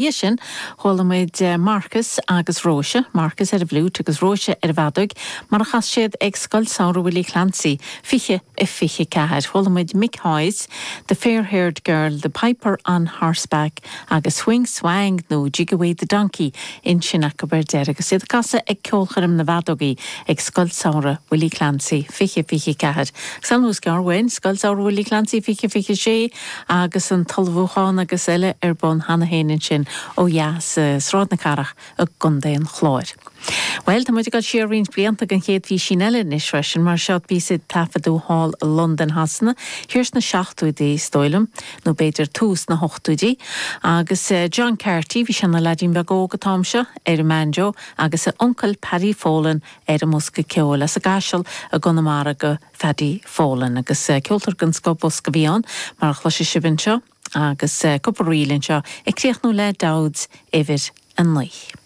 Dhiaidh sin, chuala muid Marcus agus Róise, Marcus ar an bhfliúit agus Róise ar an bhfeadóig, mar a chas siad ag Scoil Samhraidh Willie Clancy, 20 a 24. Chuala muid Mick Hayes, The Fair Haired Girl, The Piper on Horseback agus Swing Swang nó Jig Away the Donkey ansin acu ar deireadh agus iad ag casadh ag Ceolchoirm na bhFeadógaí ag Scoil Samhraidh Willie Clancy, 20 24. Agus ar nós gearr uainn, Scoil Samhraidh Willie Clancy, 20 26. Agus an t-ullmhúchán agus eile ar bun cheana féin ansin ó dheas i Sráid na Cathrach i gContae an Chláir. Bhuel, tá muid ag dul siar roinnt blianta don chéad phísín eile anois freisin, mar seo píosa a taifeadadh thall i Londain Shasana, thiar sna seachtóidí is dóigh liom, nó b'fhéidir tús na hochtóidí. Agus John Carty, bhí sé ina leaidín beag óg an t-am seo, ar an mbanjo, agus a uncail Paddy Folan ar an mbosca ceoil, as an gCaiseal i gConamara do Phaddy Folan. Agus ceoltóir den scoth bosca a bhí ann, mar a chloisfidh sibh anseo, agus cúpla ríl anseo, ag críochnú le Dowd's uimhir 9.